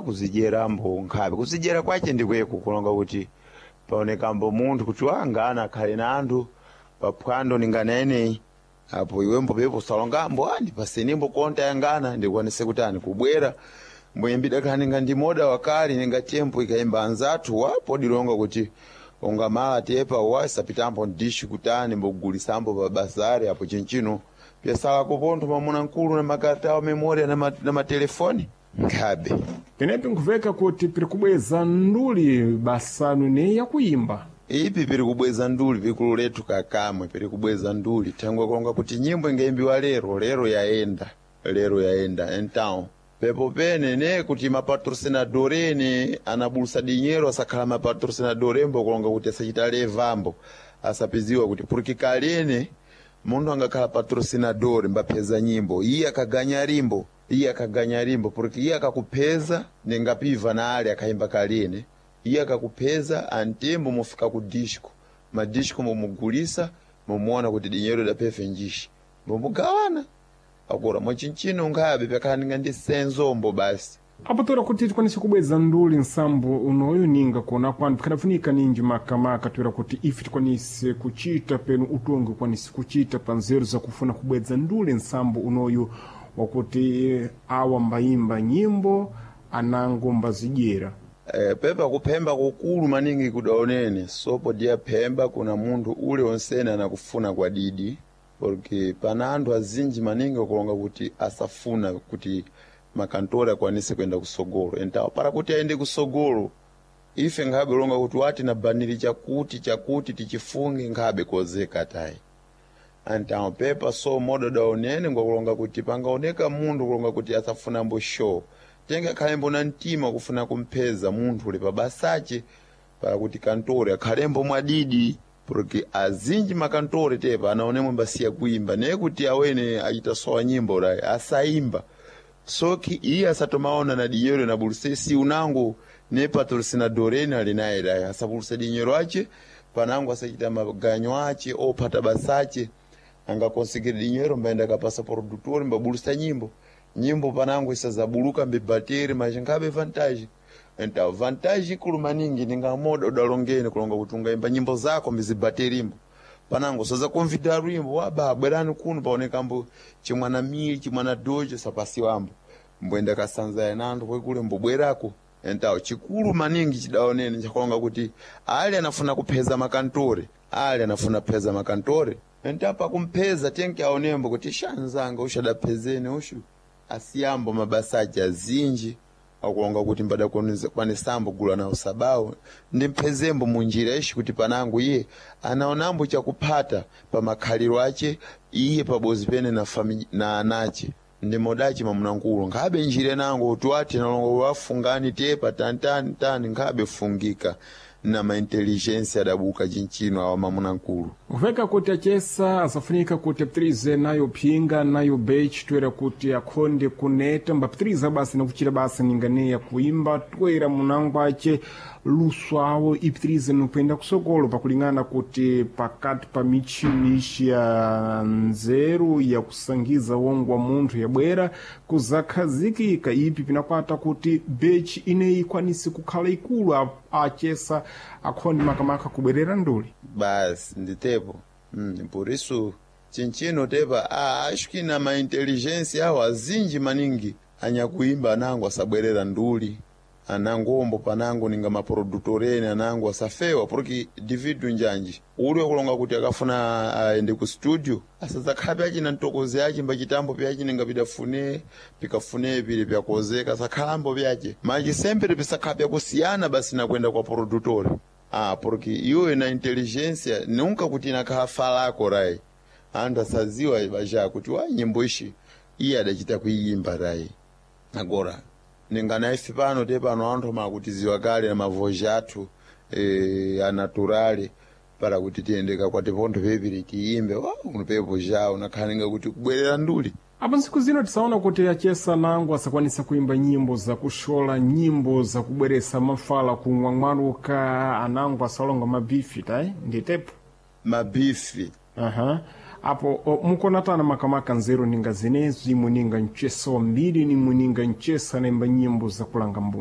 Kuzijerambo nkhabe kuzijera kwache ndikweko kulonga kuti paonekambo munthu kuti wangana akhale na anthu paphwando ninganeneyi apo iwembo pepo salongambo andipasenimbo konta yangana ndikwanise kuti ani kubwera mboyimbidwa khala ninga ndi moda wakale ninga tempo ikayimba anzathu wapo dilonga kuti ungamala tepa wasapitambo ndishi kutani mbogulisambo pa bazari apo chinchino pyasalako pontho mamuna mkulu na makarta a memoria na matelefoni nkhabe. Penepi nkuveka kuti piri kubweza nduli basanu ne yakuyimba. Ipi piri kubweza nduli pikulu lethu kakamwe piri kubweza nduli thangwe kulonga kuti nyimbo ingayimbiwa lero lero yayenda lero yayenda então pepo pene ne kuti mapatrocinador ene anabulusa dinheiro asakhala mapatrocinador embo kulonga kuti asachita levambo asapiziwa kuti porque kalene munthu angakhala patrocinador mbapheza nyimbo iye akaganya limbo iye akaganya limbo porque iye akakupheza ningapiva na ale akayimba kalene iye akakupheza antembo mufika ku disco madisco mumugulisa mumuona kuti dinheiro idaphefe njishi mumugawana akura mwachinchino nkhabe pyakhala ndi senzombo basi. Apo tora kuti tikwanise kubweza nduli nsambo unoyo ninga kuona kwanu pikadafunika ninji makamaka toera kuti ife tikwanise kuchita penu utongi ukwanise kuchita pa nzeru zakufuna kubweza nduli nsambo unoyu wakuti awa mbayimba nyimbo anango mbazidyera. Pepa kuphemba kukulu maningi kudaonene sopo diya phemba kuna munthu ule onsene anakufuna kwa didi porque pana anthu azinji maningi akulonga kuti asafuna kuti makantori akwanise kuyenda kusogolo entawo para kuti ayende kusogolo ife nkhabe longa kuti wati na baniri chakuti chakuti tichifunge nkhabe kozeka tayi antawo pepa so modo daonene ngwakulonga kuti pangaoneka munthu kulonga kuti asafunambo show tenge akhalembo na mtima kufuna kumpheza munthu uli pabasache para kuti kantore akhalembo mwadidi porque azinji makantore tepa anaonemwe mbasiya kuimba neye kuti awene achita sowa nyimbo rayi asayimba soki iye asatomaona na dinyero na buluse si unango ne patrocinador ene ali naye rayi asabuluse dinyero ache panango asachita maganyo ache ophata basache angakonsigire dinyero mbaenda kapasa produtor mbabulusa nyimbo nyimbo panango isazabuluka mbibateri machingabe vantage então vantage ikulu maningi ningamoda udalongeni kulonga kuti ungaimba nyimbo zako mbizibaterimbo panango soza konvida lwimbo waba bwerani kuno paonekambo chimwana mili chimwana dojo sapasiwambo mboenda kasanza yananthu kwekule mbobwerako. Então chikulu maningi chidaonene chakulonga kuti ali anafuna kupheza makantore ali anafuna kupheza makantore então pakumpheza tenke aonembo kuti shanzanga ushadaphezeni ushu asiyambo mabasa aja azinji akulonga kuti mbadakwanisambo gula nawo sabawo ndimphezembo munjira ishi kuti panango iye anaonambo chakuphata pa makhaliro ache iye pabozi pene na, na anache ndimodachi mamunankulo nkhabe njira nango kuti wati nalongo wafungani tepa tantani tani nkhabe fungika na maintelligence adabuka chinchino awa mamunankulo. Kuveka kuti achesa asafunika kuti apitirize nayo phinga nayo bechi toera kuti akhonde kuneta mbapitiriza basi nakuchita basa ninganeya kuimba toera munango ache luso awo ipitirize nokuyenda kusogolo pakulingana kuti pakati pa michini ixi ya nzeru yakusangiza wongo wa munthu yabwera kuzakhazikika ipi pinakwata kuti bechi ineyi ikwanise kukhala ikulu achesa akhonde makamaka kubwerera nduli basi nditepo por isso chinchino tepa acho que na maintelligência awo azinji maningi anyakuimba anango asabwerera nduli anangombo panango ninga maprodutoreni anango asafewa porque dividu njanji uli wakulonga kuti akafuna aende ku studio asadzakhala pyachina mtokozi ache mbachitambo pyache ninga pidafune pikafune pili pyakozeka asakhalambo pyache machi sempre pisakhala pyakusiyana basi nakwenda kwa produtori porque iwe na inteligência nunca kuti inakhala falako rai anthu asaziwa baja kuti wa nyimbo ishi iye adachita kuiyimba rai agora ningana ife pano te pano anthu makutiziwa kale na mavoji athu anaturale para kuti tiyende kakwati pontho pepiri tiyimbe wa unopepo ja unakhalinga kuti kubwerera nduli. Apo ntsiku zino tisaona kuti achesa nango asakwanisa kuimba nyimbo zakushola nyimbo zakubweresa mafala kumwamwaluka anango asalonga mabifi tayi nditepo mabifi aha apo mukonatana makamaka nzeru ninga zenezi imwe ninga mchesa wambiri nimwe ninga mchesa naimba nyimbo zakulanga mbumba.